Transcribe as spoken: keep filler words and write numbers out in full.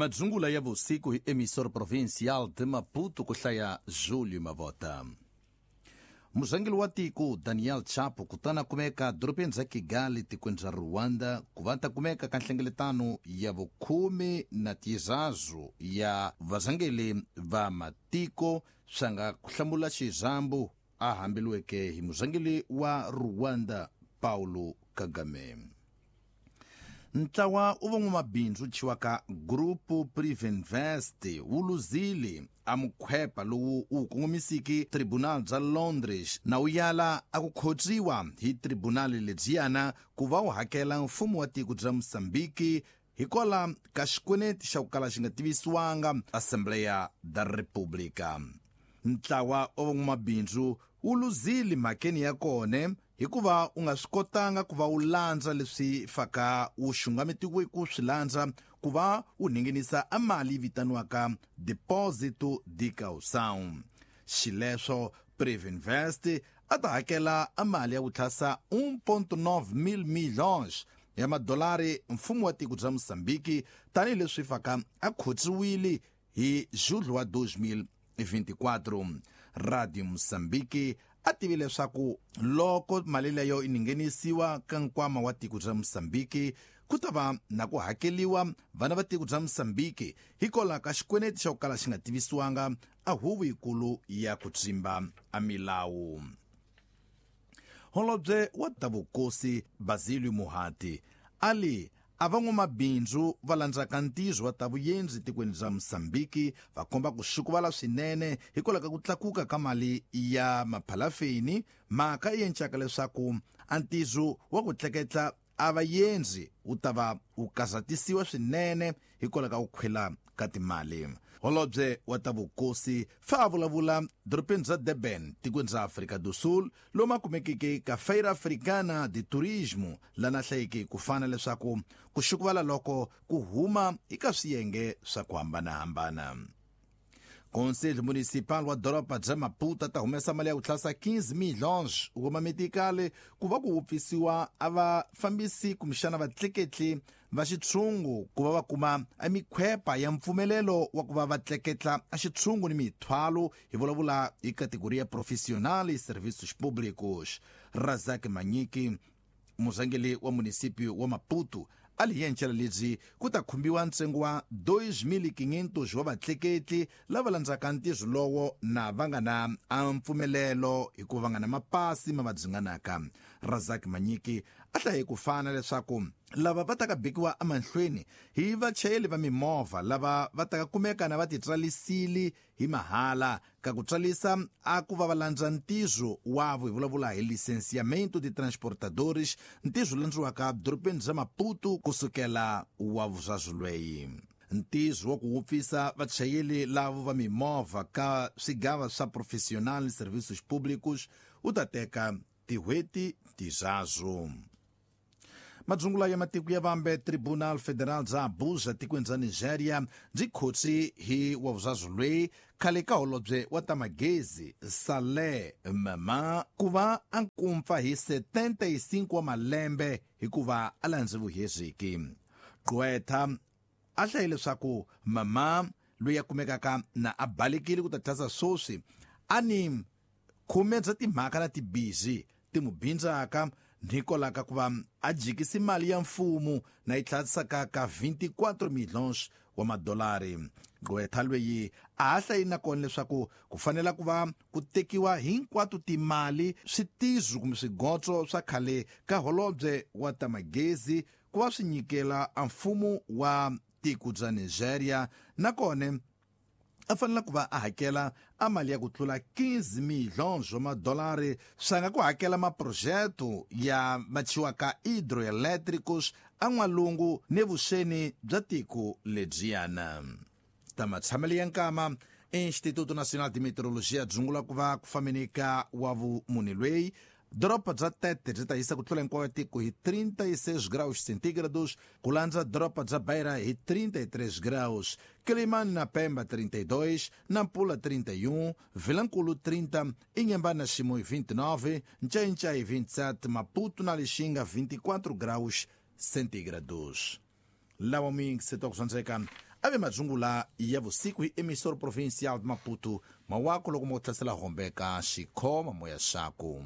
Madzungula ya vusiku hi emissor provincial de Maputo ku hlaya Julio Mavota. Murhangeri wa tiko Daniel Chapo kutana kumeka dorobeni ra Kigali tikweni ra Rwanda ku va ta kumeka ka nhlengeletano ya vukhume na tizazu ya varhangeri va matiko swa nga ku hlamula xirhambo a hambeliweke hi murhangeri wa Rwanda Paulo Kagame. Ntlawa u van'wamabindzu chiwaka Grupo Privinvest wu luzile a mukhwepa lowu wu kongomisiki Tribunal bya Londres na wu yala a ku khotsiwa hi tribunal lebyiyana ku va wu hakela mfumo wa tiko bya Mozambique hikwalaho ka xikweleti xa ku kala xi nga tivisiwanga Assembleia da República. Ntlawa wa van'wamabindzu wu luzile mhakeni ya kona hikuva u nga swi kotanga ku va wu landza leswi faka wu xungametiwe ku swi landza ku va wu ninginisa a mali vitaniwaka depósito de caução. Xileswo Privinvest a ta hakela a mali ya ku tlhasa um ponto nove mil milhões ya madolari mfumo wa tiko bya Mozambique tanihileswi faka a khotsiwile hi julho wa dois mil e vinte e quatro. Radio Mozambique a tivi leswaku loko mali leyo yi nghenisiwa ka nkwama wa tiko bya Mozambique ku ta va na ku hakeliwa vana va tiko bya Mozambique hikwalaho ka xikweleti xa ku kala xi nga tivisiwanga a huvo yikulu ya ku tsimba a milawu. Holobye wa ta vukosi Basilio Muhati ali a van'wamabindzu va landzaka ntizo wa ta vuyendzi tikweni bya Mozambique va komba ku xukuvala swinene hikwalaho ka ku tlakuka ka mali ya maphalafeni, mhaka yi encaka leswaku a ntizo wa ku tleketla a vayendzi wu ta va wu kazatisiwa swinene hikwalaho ka ku khwela ka timali. Holobye wa ta vukosi fa a vulavula dorobeni ra Durban tikweni ra Afrika do Sul lomu a kumekeke ka Feira Africana de Turismo lana hlayeke ku fana leswaku ku xukuvala loko ku huma eka swiyenge swa ku hambanahambana. Conselho Municipal wa doroba bya Maputo ta humesa mali ya ku tlhasa quinze milhões wa mametikale ku va ku wupfisiwa a vafambisi kumbexana vatleketli va xitshungu ku va va kuma a mikhwepa ya mpfumelelo wa ku va va tleketla a xitshungu ni mithwalo, hi vulavula hi categoria profissional e serviços públicos. Razak Manyiki, murhangeri wa munisipio wa Maputo, a li yencela lebyi ku ta khumbiwa ntsengo wa dois mil e quinhentos wa vatleketli lava landzaka ntirho lowo na va nga na a mpfumelelo hikuva va nga na mapasi ma va dzinganaka. Razak Manyiki a hlaye ku fana leswaku lava va ta ka bikiwa emahlweni hi vachayeri va mimovha lava va ta ka kumeka na va titsalisile hi mahala ka ku tsarisa a ku va va landza ntirho wavo, hi vulavula hi licenciamento de transportadores, ntirho landziwaka dorobeni ra Maputo kusukela wa vuzazulweyi. Ntirho wa ku wupfisa vachayeri lavo va mimovha ka swigava swa profissional serviços públicos wu ta teka tin'hweti tizazu. Madzungula ya matiko ya vambe Tribunal Federal bya Abuja tikweni ra Nigeria byi khotsi hi wa vuzazulweyi khale ka holobye wa ta magezi Saleh Mama ku va a nkumpfa hi setenta e cinco wa malembe hikuva a landze vuhezeki. Gqwetha a hlaye leswaku Mama loyi a kumekaka na a balekile ku ta tlhasa swoswi a ni khume bya timhaka na tibizi ti mu bindzaka hikwalaho ka ku va a jikisi mali ya mfumo na yi tlhasaka ka vinte e quatro milhões wa madolari. Gqwetha loyi a ha hlayi na kona leswaku ku fanela ku va ku tekiwa hinkwato timali switizo kumbe swigotso swa khale ka holobye wa ta magezi ku va swi nyikela a mfumo wa tiko bya Nigeria, nakona a fanele ku va a hakela a mali ya ku tlula quinze milhões wa madolari swa nga ku hakela maprojeto ya machiwaka hidroelétricos a n'walungu ne vuxeni bya tiko lebyiyana. Ta matshamelo ya nkama Instituto Nacional de Meteorologia dzungula ku va ku fambeni ka wa vumunhu lweyi doroba bya Tete byi ta hisa ku tlula hinkwayo tiko hi trinta e seis graus centígrados, ku landza doroba bya Beira hi trinta e três graus, Quelimane na Pemba trinta e dois, Nampula trinta e um, Vilanculo trinta, Inhambane na Chimoio vinte e nove, Nchai-Nchai vinte e sete, Maputo na Lixinga vinte e quatro graus centígrados. Lawa mingi se tokusonzeka ave madzungula ya vusiku hi emissor provincial de Maputo mawako loko mo hlasela hombeka xikhoma moya xaku.